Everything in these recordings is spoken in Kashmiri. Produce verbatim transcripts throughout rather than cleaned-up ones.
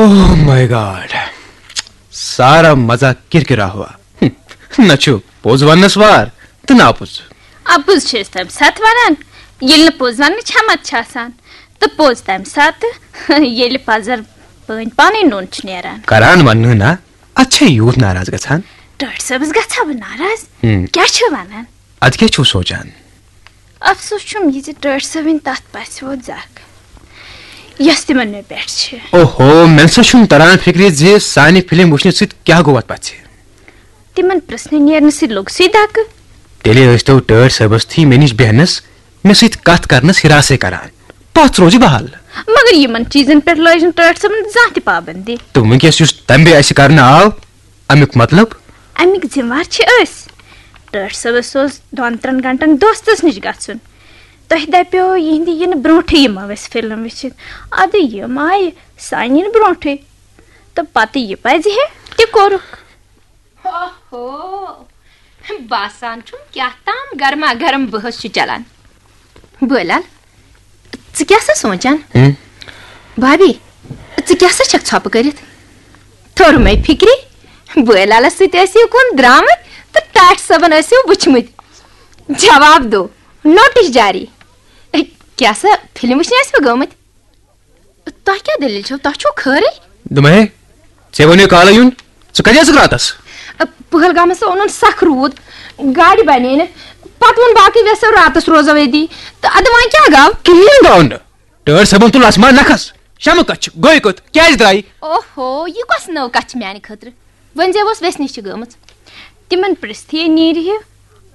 Oh my God! سارا مزہ کرکرا ہوا۔ نہ چھُ پوٚز وننس وار تہٕ نہ اپُز۔ اپُز چھِ أسۍ تَمہِ ساتہٕ ونان، ییٚلہِ نہٕ پوٚز وننٕچ ہٮ۪متھ چھِ آسان، تہٕ پوٚز تَمہِ ساتہٕ، ییٚلہِ پزر پٲنۍ پانے نوٚن چھُ نیران۔ کران وننہٕ نا، اتھ چھا یوٗت ناراض گژھان؟ ٹٲٹھۍ صٲبس گژھا بہٕ ناراض؟ ہم۔ کیٛاہ چھِ ونان؟ ادٕ کیٛاہ چھُو سونچان؟ افسوس چھُم یہِ زِ ٹٲٹھۍ صٲبٕنۍ تتھ پژھِ ووت زکھ، یۄس تِمن مےٚ پٮ۪ٹھ چھِ۔ اوہو، مےٚ نسا چھُنہٕ تران فکرِ زِ سانہِ فلم وٕچھنہٕ سۭتۍ کیٛاہ گوٚو اتھ پژھِ۔ تِمن پرژھنہٕ نیرنہٕ سۭتۍ لوٚگ سُے دکہٕ۔ تیٚلہِ ٲسۍ تو ٹٲٹھۍ صٲبس تھی مےٚ نِش بیہنس، مےٚ سۭتۍ کتھ کرنس ہراسے کران۔ پژھ روزِ بحال۔ مگر یِمن چیٖزن پٮ۪ٹھ لٲج نہٕ ٹٲٹھۍ صٲبن زانٛہہ تہِ پابندی۔ تہٕ وٕنکیٚس یُس تمبے اسہِ کرنہٕ آو، امیُک مطلب؟ امیُک ذمہٕ وار چھِ أسۍ۔ ٹٲٹھۍ صٲبس اوس دۄن ترٛٮ۪ن گھنٹن دوستس نِش گژھُن۔ تۄہہِ دپیو یِہنٛدِ یِنہٕ برونٛٹھٕے یِمو أسۍ فلم وٕچھِتھ۔ ادٕ یِم آیہِ سانہِ یِنہٕ برونٛٹھٕے۔ تہٕ پتہٕ یہِ پزِ ہے تہِ کوٚرُکھ۔ اوہو، باسان چھُم کیٛاہ تام گرما گرم بحث چھُ چلان۔ بٲے لال، ژٕ کیٛاہ سا سونٛچان؟ ہم؟ بھابی، ژٕ کیٛاہ سا چھکھ ژھۄپہٕ کٔرِتھ؟ توٚر مےٚ فِکرِ، بٲے لالس سۭتۍ ٲسی کُن درٛامٕتۍ تہٕ ٹاٹھۍ صٲبن ٲسِو وٕچھمٕتۍ۔ جواب دو، نوٹس جاری۔ کیٛاہ سا فلم وٕچھنہِ ٲسوٕ گٔمٕتۍ؟ تۄہہِ کیٛاہ دٔلیٖل چھو؟ تۄہہِ چھو خٲرٕے؟ دوٚپمَے، ژےٚ ووٚنُے کالے یُن، ژٕ کَتہِ ٲسٕکھ راتَس؟ پہلگامس اوٚنُن سخ روٗد، گاڑِ بنے نہٕ۔ پتہٕ ووٚن باقٕے وٮ۪سو راتس روزو ییٚتی۔ تہٕ ادٕ وۄنۍ کیٛاہ گوٚو؟ کِہیٖنۍ گوٚو نہٕ۔ ٹٲٹھۍ صٲبن تُل آسمان نکھس۔ شمہٕ کتھ چھِ، گٔے کوٚت، کیٛازِ درٛایہِ؟ اوہو، یہِ کۄس نٔو کتھ چھِ میانہِ خٲطرٕ؟ وۄنۍ زیوس وٮ۪سنہِ چھِ گٔمٕژ۔ تِمن پرژھتھٕے نیرِ ہے،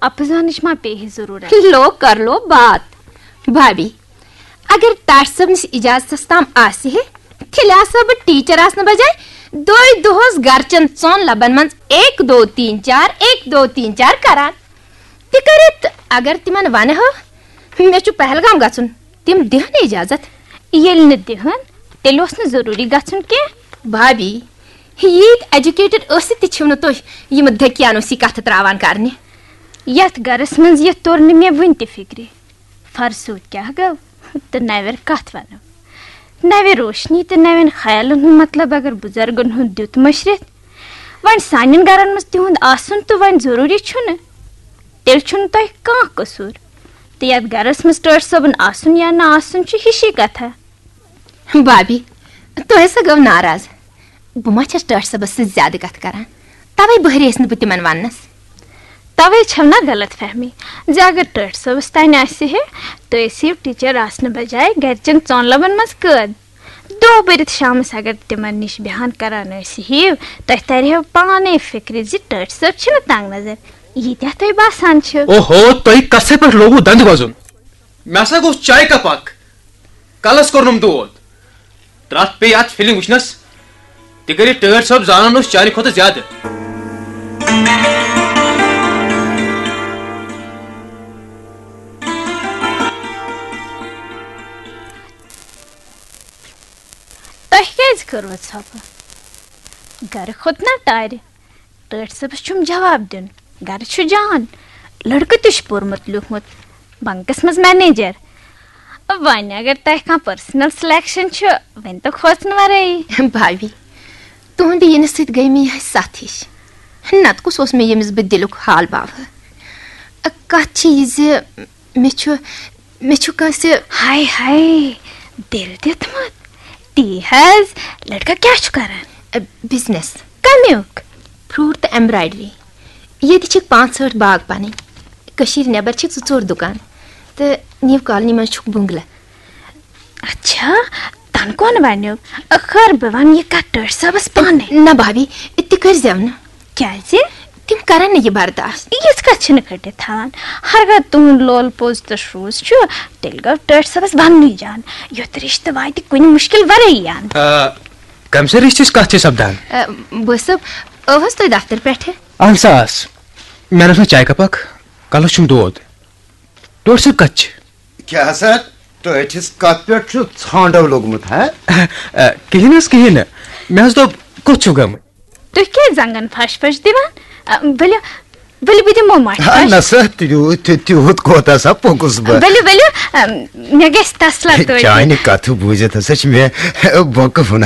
اپزانٕچ ما پیٚیہِ ہے ضروٗرت؟ لو کر لو بات۔ بھابی، اگر ٹاٹھۍ صٲبنِس اجازتس تام آسہِ ہے، تیٚلہِ آسہٕ ہا بہٕ ٹیچر آسنہٕ بجایہِ دۄہے دۄہس گرچٮ۪ن ژۄن لبن منٛز ایک دو تین چار، ایک دو تین چار کران۔ تہِ کٔرِتھ اگر تِمن ونہٕ ہو، مےٚ چھُ پہلگام گژھُن، تِم دِہن اجازت؟ ییٚلہِ نہٕ دِہن، تیٚلہِ اوس نہٕ ضروٗری گژھُن کینٛہہ۔ بھابی، ییٖتۍ ایجوکیٹڈ ٲسِتھ تہِ چھِو نہٕ تُہۍ یِم دٔکیانوسی کتھٕ تراوان کرنہِ۔ یتھ گرس منٛز یتھ توٚر نہٕ مےٚ وُنہِ تہِ فکرِ۔ فرسوٗد کیٛاہ گوٚو تہٕ نوٮ۪ر کتھ ونو؟ نوِ روشنی تہٕ نوٮ۪ن خیالن ہُنٛد مطلب اگر بُزرگن ہُنٛد دیُت مٔشرِتھ، وۄنۍ سانٮ۪ن گرن منٛز تِہُنٛد آسُن تہٕ وۄنۍ ضروٗری چھُنہٕ، تیٚلہِ چھُنہٕ تۄہہِ کانٛہہ قصوٗر۔ تہٕ یتھ گرس منٛز ٹٲٹھۍ صٲبُن آسُن یا نہٕ آسُن چھُ ہِشی کتھا۔ بابی، تۄہہِ سا گوٚو ناراض؟ بہٕ ما چھَس ٹٲٹھۍ صٲبس سۭتۍ زیادٕ کتھ کران؟ توے بہرییس نہٕ بہٕ تِمن وننس۔ توے چھو نا غلط فہمی زِ اگر ٹٲٹھۍ صٲبس تانۍ آسہِ ہے، تُہۍ ٲسِو ٹیچر آسنہٕ بجایہِ گرِچٮ۪ن ژۄن لبن منٛز قٲد۔ دۄہ بٔرِتھ شامس اگر تِمن نِش بیہان کران ٲسۍ ہِو، تۄہہِ ترِ ہو پانے فکرِ زِ ٹٲٹھۍ صٲب چھِنہٕ تنگ نظر، ییٖتیٛاہ تۄہہِ باسان چھِو۔ اوہو، تۄہہِ کتھِ پٮ۪ٹھ لوگوُ دندٕ وزُن؟ مےٚ ہسا گوٚژھ چایہِ کپ اکھ۔ کلس کوٚرنم دود۔ ترٛٹھ پیٚیہِ اتھ فلم وٕچھنس۔ تہِ کٔرِتھ ٹٲٹھۍ صٲب زانان اوس چانہِ کھۄتہٕ زیادٕ۔ تۄہہِ کیٛازِ کٔروٕ ژھۄپہٕ؟ گرٕ کھوٚت نا ٹارِ۔ ٹٲٹھۍ صٲبس چھُم جواب دیُن۔ گرٕ چھُ جان۔ لڑکہٕ تہِ چھُ پوٚرمُت لیوٗکھمُت۔ بنکس منٛز منیجر۔ وۄنۍ اگر تۄہہِ کانٛہہ پرسنل سلیکشن چھُ، وۄنۍ تہٕ کھوژنہٕ ورٲیی۔ بھابی، تُہنٛدِ یِنہٕ سۭتۍ گٔے مےٚ یِہے ستھ ہِش۔ نتہٕ کُس اوس مےٚ ییٚمِس بہٕ دِلُک حال باوٕ؟ کتھ چھِ یہِ زِ مےٚ چھُ، مےٚ چھُ کٲنٛسہِ۔ ہاے ہاے، دِل دیُتمُت؟ تی حظ، لڑکہٕ کیٛاہ چھُ کران؟ بزنس۔ کمیُک؟ فروٹ تہٕ ایمبرایڈری۔ ییٚتہِ چھِکھ پانٛژھ ٲٹھ باغ پنٕنۍ۔ کٔشیٖرِ نٮ۪بر چھِکھ زٕ ژور دُکان۔ تہٕ نیو کالنی منٛز چھُکھ بنگلہٕ۔ اچھا، تن کون ونیو؟ خٲر، بہٕ ونہٕ یہِ کتھ ٹٲٹھۍ صٲبس پانے۔ نہ بھابی، تہِ کٔرۍ زٮ۪و نہٕ۔ کیٛازِ؟ تِم کرن نہٕ یہِ برداشت۔ یِژھ کتھ چھِنہٕ کھٔٹِتھ تھاوان۔ ہرگاہ تُہُنٛد لول پوٚز تہٕ شروٗژ چھُ، تیٚلہِ گوٚو ٹٲٹھۍ صٲبس وننُے جان۔ یُتھ رشتہٕ واتہِ کُنہِ مُشکل ورٲیی اند۔ آ، کمہِ سٕے رشتٕچ کتھ چھِ سپدان؟ آ، بہٕ صٲب، ٲوہس تُہۍ دفتر پٮ۪ٹھٕ؟ اہن سا آس۔ مےٚ رٔٹ نہٕ چایہِ کپ اکھ، کلس چھُم دود۔ ٹٲٹھۍ صٲب کتہِ چھِ؟ کیٛاہ سا؟ ٹٲٹھِس کتھ پٮ۪ٹھ چھُ ژھانٛڈو لوٚگمُت، ہا؟ آ، کِہیٖنۍ حظ، کِہیٖنۍ نہٕ۔ مےٚ حظ دوٚپ، کوٚت چھِو گٔمٕتۍ؟ تُہۍ کیٛازِ زنٛگن پھش پھش دِوان؟ آ، ؤلِو، ؤلِو، بہٕ دِمو مۄٹھ آ، پھش۔ نہ سا، تیوٗت، تیوٗت کوتاہ سا پوٚکُس بہٕ؟ ؤلِو، ؤلِو، آ، مےٚ گژھِ تسلا توتہِ۔ چانہِ کتھٕ بوٗزِتھ ہسا چھِ مےٚ بۄکہٕ ہُنہ